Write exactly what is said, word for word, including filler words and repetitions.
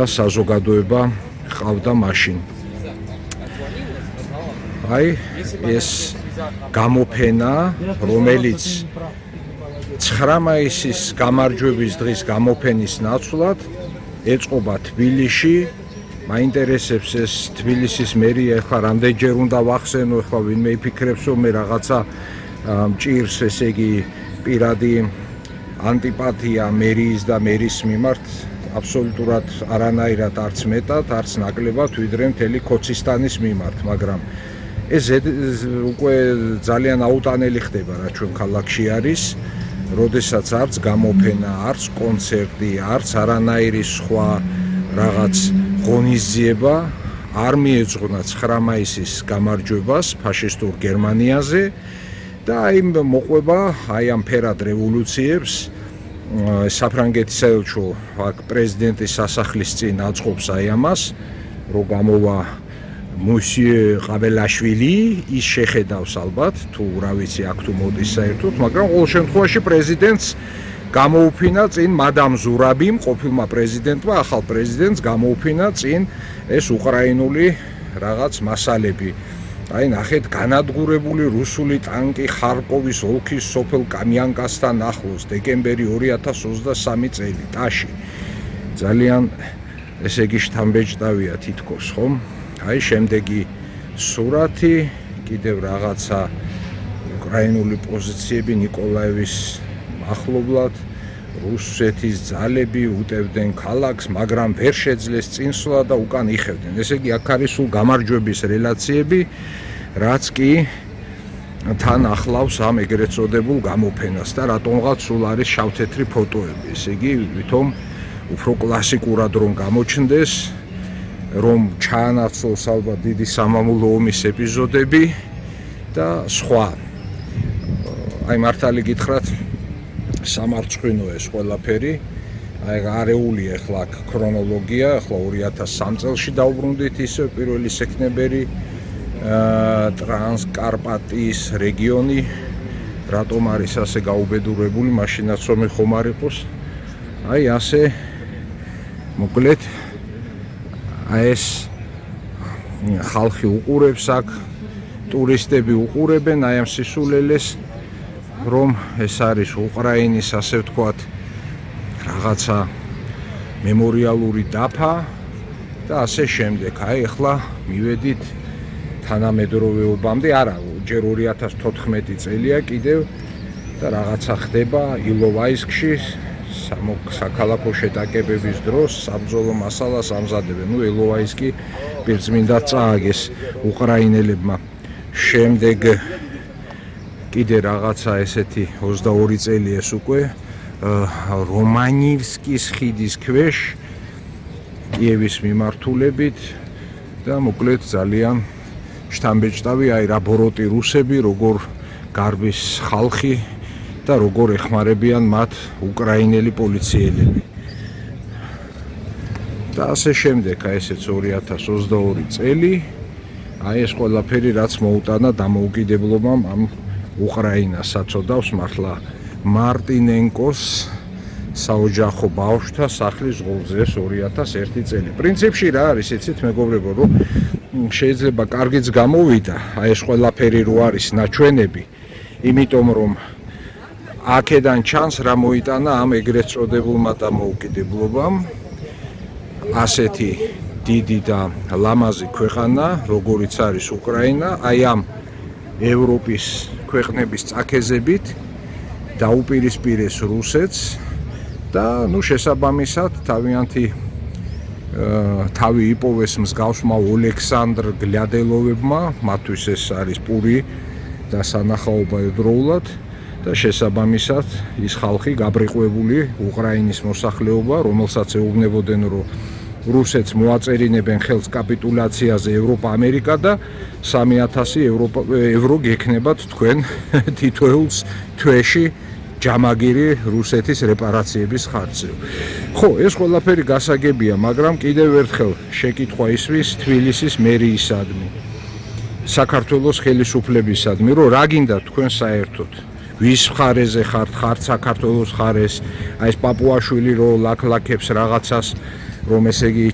საზოგადოება ყავდა მაშინ. აი ეს გამოფენა, რომელიც ცხრა მაისის გამარჯვების დღის გამოფენის ნაცვლად ეწყობა თბილისში. მაინტერესებს ეს თბილისის მერია ახლა რამდენჯერ უნდა ვახსენო, ახლა ვინმე იფიქრებს რომ მე რაღაცა მჭირს, ესე იგი პირადი ანტიპათია მერიის და მერის მიმართ აბსოლუტურად არანაირად არც მეტად, არც ნაკლებად, ვიდრე მთელი ქოცისტანის მიმართ, მაგრამ ეს უკვე ძალიან აუტანელი ხდება, რა ჩვენ ქალაქში არის, როდესაც არც გამოფენა, არც კონცერტი, არც არანაირი სხვა რაღაც ღონისძიება არ მიეძღვნა ცხრა მაისის გამარჯვებას ფაშისტურ გერმანიაზე და აი მოყვება აი ამ ფერად რევოლუციებს საფრანგეთის საელჩო აქ პრეზიდენტის სასახლის წინ აწყობს აი ამას, რომ გამოვა მუსიე ყაბელაშვილი, ის შეხედავს ალბათ თუ რა ვიცი აქ თუ მოდის საერთოდ, მაგრამ ყოველ შემთხვევაში პრეზიდენტს გამოუფინა წინ მადამ ზურაბიმ, ყოფილმა პრეზიდენტმა, ახალ პრეზიდენტს გამოუფინა წინ ეს უკრაინული რაღაც მასალები. აი ნახეთ, განადგურებული რუსული ტანკი ხარკოვის ოლქის სოფელ კამიანკასთან ახლოს, დეკემბერი ორი ათას ოცდასამი წელი, ტაში. ძალიან ესე იგი შთამბეჭდავია თითქოს, ხომ? აი შემდეგი სურათი, კიდევ რაღაცა უკრაინული პოზიციები ნიკოლაევის ახლობლად, რუსეთის ძალები უტევდნენ ქალაქს, მაგრამ ვერ შეძლეს წინსვლა და უკან იხევდნენ. ესე იგი აქ არის სულ გამარჯვების რელაციები, რაც კი თან ახლავს ამ ეგრეთ წოდებულ გამოფენას და რატომღაც სულ არის შავთეთრი ფოტოები. ესე იგი ვითომ უფრო კლასიკურად რომ გამოჩნდეს, რომ ჩაანაცვლოს ალბათ დიდი სამამულო ომის ეპიზოდები და სხვა. აი მართალი გითხრათ, სამარცხვინო ეს ყველაფერი, აი არეული ახლა ქრონოლოგია, ახლა ორი ათას სამი წელში დავბრუნდით ისე პირველი სექტემბერი, ტრანსკარპატიის რეგიონი, რატომ არის ასე გაუბედურებული, მაშინაც რომ ხომ არ იყოს. აი ასე მოკლედ აი ეს ხალხი უყურებს აქ, ტურისტები უყურებენ აი ამ სისულელეს, რომ ეს არის უკრაინის ასე ვთქვათ რაღაცა მემორიალური დაფა და ასე შემდეგ. აი ახლა მივედით თანამედროვეობამდე, არა, ჯერ ორი ათას თოთხმეტი წელია კიდევ და რაღაცა ხდება ილოვაისკში, საქალაქო შეტაკებების დროს საბრძოლო მასალას ამზადებენ. ნუ ილოვაისკი პირწმინდად წააგეს უკრაინელებმა. შემდეგ კიდე რაღაცა ესეთი ოცდაორი წელი ეს უკვე რომანივსკის ხიდის ქვეშ კიევის მიმართულებით და მოკლედ ძალიან შთამბეჭდავი აი რა ბოროტი რუსები, როგორ გარბის ხალხი და როგორ ეხმარებიან მათ უკრაინელი პოლიციელები. და ასე შემდეგ, აი ესეც ორი ათას ოცდაორი წელი, აი ეს ყველაფერი რაც მოუტანა დამოუკიდებლობამ ამ უკრაინას აწოდავს მართლა მარტინენკოს საოჯახო ბავშვთა სახლის ღოლზე ორი ათას ერთი წელი. პრინციპში რა არის, იცით მეგობრებო, რომ შეიძლება კარგიც გამოვიდა აი ეს ყველაფერი რო არის ნაჩვენები, იმიტომ რომ აქედან ჩანს რა მოიტანა ამ ეგრეთ წოდებულმა დამოუკიდებლობამ, ასეთი დიდი და ლამაზი ქვეყანა, როგორიც არის უკრაინა, აი ამ ევროპის ქვეყნების წაქეზებით დაუპირისპირეს რუსეთს და ნუ შესაბამისად თავიანთი თავი იპოვეს მსგავსმა ოლექსანდრ გლადელოვებმა, მათთვის ეს არის პური და სანახაობა ერთდროულად და შესაბამისად ის ხალხი გაბრიყვებული უკრაინის მოსახლეობა, რომელსაც ეუბნებოდნენ, რომ რუსეთს მოაწერინებენ ხელს კაპიტულაციაზე ევროპა, ამერიკა და სამი ათასი ევრო გექნებათ თქვენ თითოეულს თვეში ჯამაგირი რუსეთის რეპარაციების ხარჯზე. ხო, ეს ყველაფერი გასაგებია, მაგრამ კიდევ ერთხელ შეკითხვა ისვის თბილისის მერიისადმი, საქართველოს ხელისუფლებისადმი, რომ რა გინდა თქვენ საერთოდ? ვის მხარეზე ხართ, ხართ საქართველოს მხარეს, აი ეს პაპუაშვილი რო ლაქლაქებს რაღაცას რომ ესე იგი